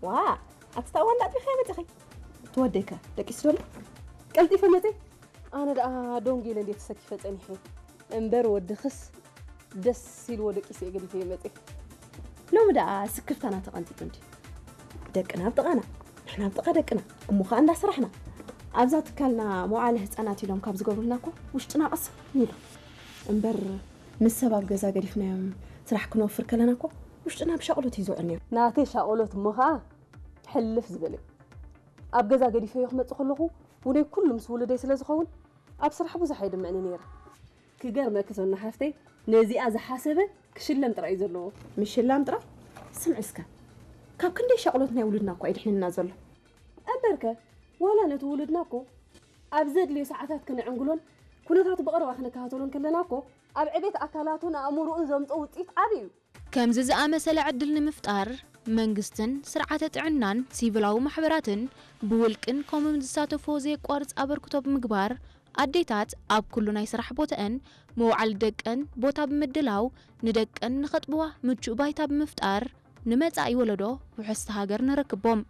ዋ ኣትታዋ እንዳጥቢኸ መፅኺ ትወደይከ ደቂስ ዶሎ ቀልጢፈ መፀ ኣነ ደኣ ዶንጌለ እንዴ ተሰኪፈ ፀኒሐ እምበር ወድኽስ ደስ ኢልዎ ደቂስ እየ ገዲፈ መፀ ሎሚ ደኣ ስክፍታና ተቐንጢጡ እንዲ ደቅና ኣብ ጥቓና ንሕና ኣብ ጥቓ ደቅና እሞ ኸዓ እንዳሰራሕና ኣብዛ ትካልና መዋዕለ ህፃናት ኢሎም ካብ ዝገብሩልና እኮ ውሽጥና ቐስም ኢሉ እምበር ምስ ሰብ ኣብ ገዛ ገዲፍናዮም ስራሕ ክንወፍር ከለና እኮ ውሽጥና ብሻቕሎት እዩ ዝውዕል ነይሩ። ናተይ ሻቕሎት እሞ ኸዓ ሕልፍ ዝበለ እዩ። ኣብ ገዛ ገዲፈዮ ክመፅእ ከለኹ ውነይ ኩሉ ምስ ውሉደይ ስለ ዝኸውን ኣብ ስራሕ ብዙሕ ኣይድምዕን ነይረ። ክገርመኪ ሶና ሓፍተይ ነዚኣ ዝሓሰበ ክሽለም ጥራይ እዩ ዘለዎ። ምሽላም ጥራይ? ስምዒ እስከ ካብ ክንደይ ሻቕሎት ናይ ውሉድና እኮ እዩ ድሕንና ዘሎ። እምበርከ ዋላ ነቲ ውሉድና እኮ ኣብ ዘድልዮ ሰዓታት ክነዕንግሎን ኩነታቱ ብቐረባ ክንከታተሎን ከለና እኮ ኣብ ዕቤት ኣካላቱን ኣእምሮኡን ዘምፅኦ ውፅኢት ዓብዪ እዩ። ከምዚ ዝኣመሰለ ዕድል ንምፍጣር መንግስትን ስርዓተ ጥዕናን ሲቪላዊ ማሕበራትን ብውልቅን ኮምን ዝሳተፍዎ ዘየቋርፅ ኣበርክቶ ብምግባር ኣዴታት ኣብ ኩሉ ናይ ስራሕ ቦተአን መውዓሊ ደቀን ቦታ ብምድላው ንደቀን ንኸጥብዋ ምቹእ ባይታ ብምፍጣር ንመጻኢ ወለዶ ውሕስቲ ሃገር ንረክቦም።